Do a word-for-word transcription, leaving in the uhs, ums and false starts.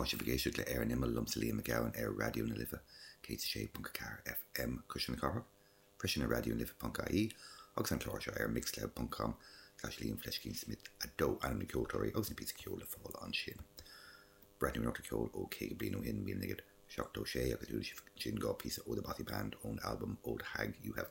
Tá sibh ag éisteacht le Ar an Imeall liomsa Liam Mac Gabhann ar Raidió na Life céad sé ponc ceathair FM Cuisle na Cathrach, freisin ar Raidió na Life.ie agus an clár seo ar mixcloud.com slash Liam Fleiscín Smith a dó ainm na ceoltóirí agus na píosa ceoil le fáil ansin. Breathnú ar ceol ó caoga bliain ó shin míle naoi gcéad seachtó sé agus sin dhá píosa ó The Bothy Band ón album Old Hag You Have